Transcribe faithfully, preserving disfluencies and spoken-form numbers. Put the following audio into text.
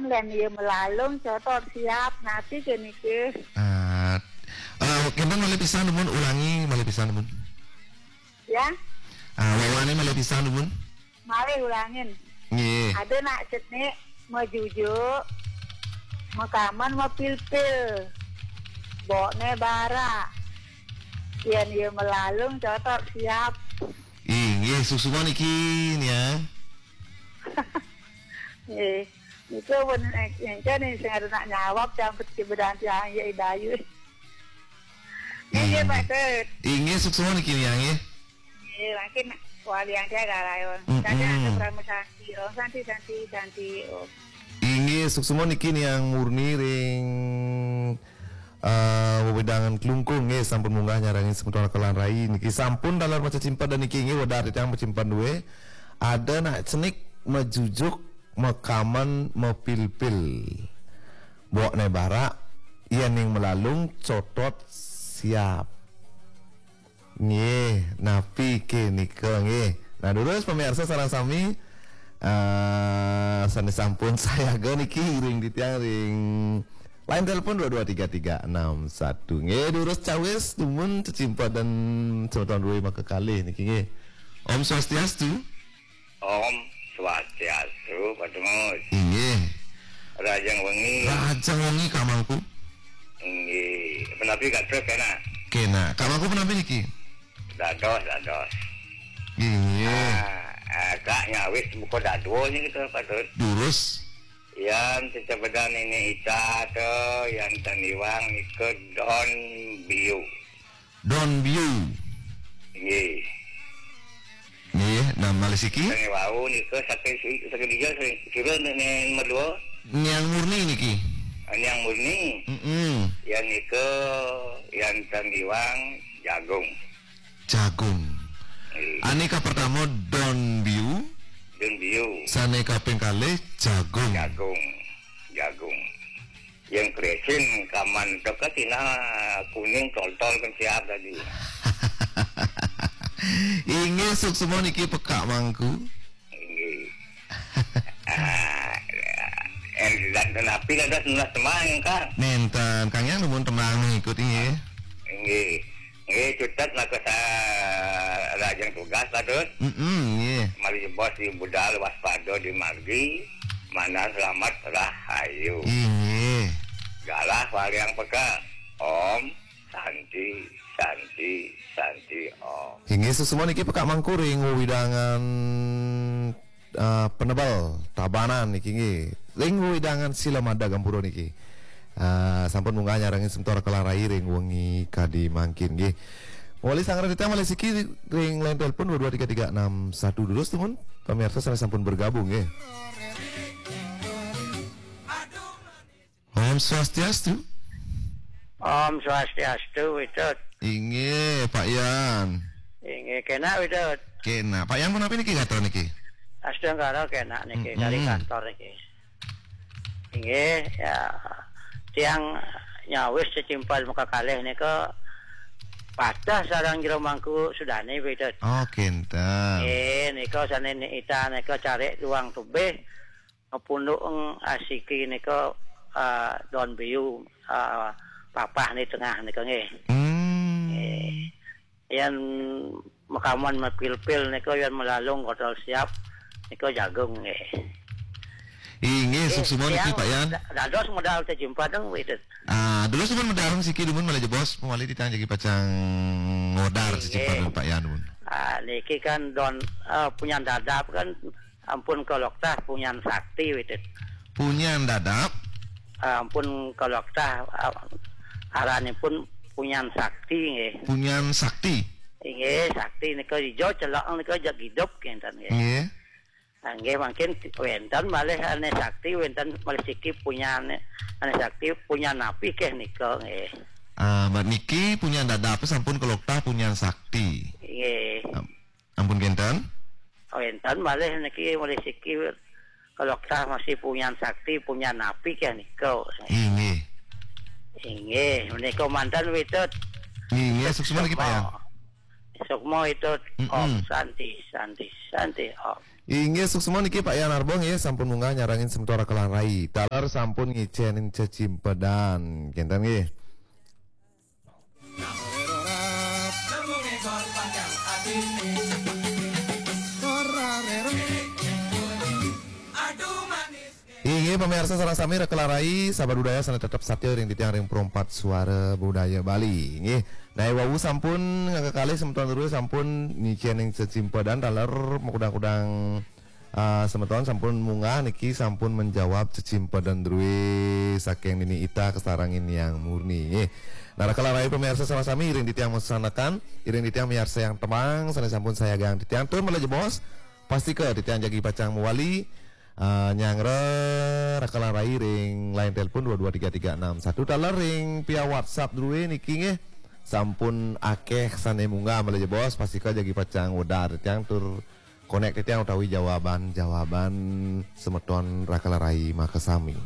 Yen ya melalung cotot siap, napi kene ke? Ah, eh, kenten malih pisan, Bun, ulangi malih pisan, Bun. Ya? Ah, wawane malih pisan, Bun. Malih ulangin. Nggih. Ada nak cenik, majujuk, makaman, mapilpil. Bokne bara. Yen ya melalung cotot siap. Inggih, suksma niki, nia. Nggih. Itu pun, eh, engke nih sing ada nak nyawab campur cibedan tiang ya idayu. Nggih, Pak Tut. Inggih, suksma niki, nia, nggih. Nggih, mangkin walian tiang garayon. Mm-mm. Saja ada Parama Santi, Om Santi, Santi, Santi, Om. Inggih, suksma niki Niang Murni ring, eh, wewidangan Klungkung nggih, sampun munggah nyarengin semeton Kelan Rai niki sampun taler macecimpedan niki nggih, wedar titiang macecimpedan duwe. Ada nak cenik, majujuk, makaman, mapilpil. Bokne bara, yen ning melalung cotot siap. Nggih, napi ke nika nggih. Nah, durus pamirsa sareng sami, eh, sane sampun sayaga niki ring titiang ring line telepon dua dua tiga tiga enam satu. Nggih, durus cawis dumun cecimpedan semeton duwe makakalih niki nggih. Om Swastiastu. Om Swastiastu, Pak Tungus. Inggih. Rahajeng wengi. Rahajeng wengi, Kak Mangku. Inggih. Punapi gatra kena? Kena. Kak Mangku punapi niki? Dados, dados. Inggih. Ah, ah, Kak nyawis buka dadua ni kita patut. Durus. Yan cecebedan ini ita tu, yan taniwang nika don biu. Don Biu. Nggih. Nggih, nah malih siki? Sing wau nika saking si-, saking dija sing kira nek, nek nomor dua? Niang Murni niki. Ah, Niang Murni. Mm-mm. Yang nika, yang tang iwang, jagung. Jagung. Nggih. Ane ka pertama Don Biu. Don Biu. Sane kaping kalih jagung. Jagung. Jagung. Yang kresin kaman teka tina kuning toltol kan siap tadi. Inggih, suksma niki pekak mangku. Inggih. Ah, en dan napi dados nunas temang, Kang? Nenten, Kang Yang nuwun temang mengikut inggih. Inggih. Nggih, cutet maka sa-, lajeng tugas, Pak Tut. Mm-mm, nggih. Malih jebos di budal waspada di margi, manah selamat rahayu. Inggih. Galah waliang peka. Om Santi, Santi, Santi, Om. Inggih, suksma niki pekak mangku ring wewidangan eh, Penebel, Tabanan niki nggih. Ring wewidangan Sila Madag Ampura niki. Eh, sampun munggah nyarengin semeton Kelan Rai ring wengi kadi mangkin nggih. Wali sangrang titiang malih siki ring line telepon dua dua tiga tiga enam satu durus tumun. Pamirsa sane sampun bergabung nggih. Om Swastiastu. Om Swastiastu, Widut. Inggih, Pak Yan. Inggih, kena, Widut. Kena. Pak Yan punapi niki gatra niki? Astungkara kena niki, mm-mm, dari kantor niki. Inggih, ya. Tiang nyawis cecimpal makakalih nika patah sareng jero mangku sudane, Widut. Oh, kinten. Nggih, nika sane ni ita nika cari duang tubih. Ngepunduk eng asiki nika, ah, Don Biu, ah, papah ni tengah nika nggih. Hmm. Nggih. Yan makaman mapilpil nika yan melalung kotol siap nika jagung nggih. Inggih, nggih, sukses mawon niki, tiang Pak Yan. Da-, dados modal tejumpa deng Widut. Ah, dados pun modal siki dumun malih jebos, mawali titiang jagi pacang modal, inggih, siki Pak Yan dumun. Ah, niki kan Don, eh, punyan dadap kan Ampun kaloktah punyan sakti, Widut. Punyan dadap? Ah, ampun kaloktah, ah, aranipun punyan sakti, nggih. Punyan sakti? Nggih, sakti nika ijo, celok nika jeg idup, kinten, nggih. Nggih. Ah, nggih, mangkin wenten malih ane sakti, wenten malih siki punyan ane sakti, punyan napi keh nika, nggih. Ah, mat niki punyan dadap sampun kaloktah punyan sakti. Nggih. Am-, Ampun kinten? Oh, enten malih niki malih siki kaloktah masih punyan sakti, punyan napi keh nika. Inggih. Inggih, menika manten Widut. Inggih, sukses niki, Pak Yan. Sukma Widut. Mm-mm. Om Santi, Santi, Santi, Om. Inggih, suksma niki Pak Yan Arbo nggih, sampun munggah nyarengin semeton Raka Lan Rai. Taler sampun ngicénin cecimpedan. Kénten nggih. Inggih, pamiarsa sareng sami, Raka Lan Rai, sahabat budaya sané tetep satia ring titiang ring Pro empat Suara Budaya Bali. Nggih. Nah, wau sampun ngakakalih semeton drué sampun ngicénin cecimpedan taler makudang-kudang, ah, semeton sampun munggah niki sampun menjawab cecimpedan drué saking Nini Ita kasarengin Yang Murni. Nggih. Nah, Raka Lan Rai, pamiarsa sareng sami, ring titiang masanekan, ring titiang miarsa yang temang, sané sampun sayagang titiang tur malih jebos, pastika titiang jagi pacang mawali, ah, nyanggra Raka Lan Rai ring line telepon dua dua tiga tiga enam satu, taler ring via WhatsApp drué niki nggih. Sampun akéh sané munggah malih jebos, pastika jagi pacang wedar titiang tur konék titiang utawi jawaban-jawaban semeton Raka Lan Rai makasami.